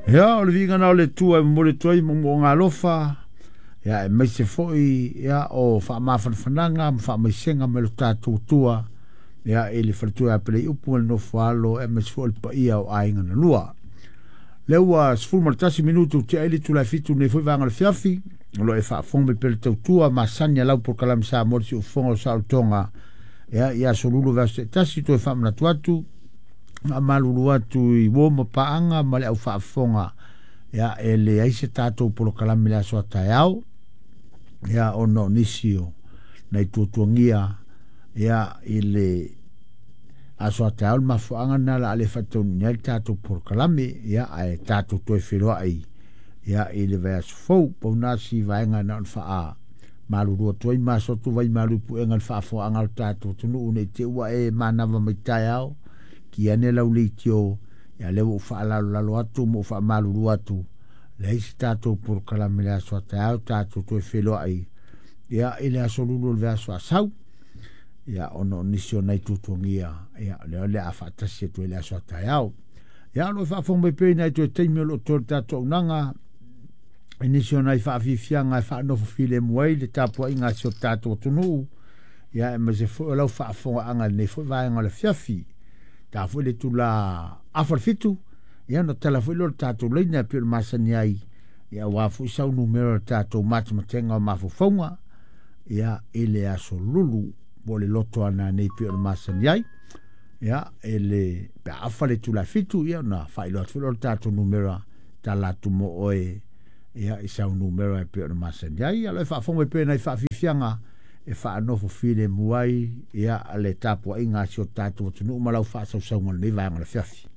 Ia, o le viiga na o le Atua e momoli atu ai moomooga alofa, ia aemaise foi ia o faamafanafanaga ma faamaisega mai lo tatou Atua, ia i le faletua ia Peleiupu ma le nofo alo, aemaise foi o le paia o aiga na lua. Lea ua 11 minutu ua tea ai le itula e 7 nei foi vaega o le afiafi, o lo o e faafofoga mai pea le tautua masani a lau polokalame Samoa le siufofoga o saolotoga, ia i aso lulu vaiaso taitasi toe faamanatu atu, faamalulu atu i uo ma paaga ma le au faafofoga, ia e leai se tatou polokalame le aso a taeao, ia ona o nisi o nai tuatuagia ia i le aso a taeao le mafuaaga lena la a le faataunuuina ai le tatou polokalame, ia ae tatou toe feiloai ia i le vaiaso fou. Pau na si vaega na ona faa malulu atu ai ma aso atu vai malu i puega i le faafofoga a lo tatou atunuu nei te ua e manava mai taeao ki ane lau leitio, ia lea ua ou faalalolalo atu ma ou faamalulu atu, leai se tatou polokalame le aso a taeao, tatou toe feiloai ia i le aso lulu o le vaiaso a sau, ia ona o nisi o nai tuatuagia, ia lea o le a faatasi atu ai le aso a taeao. Ia o lo o faafofoga mai pea i nai toe taimi o lo o toe le tatou auaunaga i nisi o nai faafiafiaga e faanofo filemu ai le tapuaiga a si o tatou atunuu, ia aemaise foi o lau faafofogaaga i lenei foi vaega o le afiafi. Ta foi le itula afa o le 7, ia ona tala foi lea o le tatou laina e pei ona masani ai, ia aua foi sau numera o le tatou matematega o mafaufauga, ia i le aso lulu po o le loto a nanei pei ona masani ai. Ia e le pe a afa le itula e 7, ia ona faailoa atu foi lea o le tatou numera tala atu mo oe, ia i sau numera e pei ona masani ai. Ia o lo o faafofoga mai pea nai faafiafiaga e faanofo filemu ai ia le tapuaiga a si o tatou atunuu ma lau faasausauga o lenei vaega o le afiafi.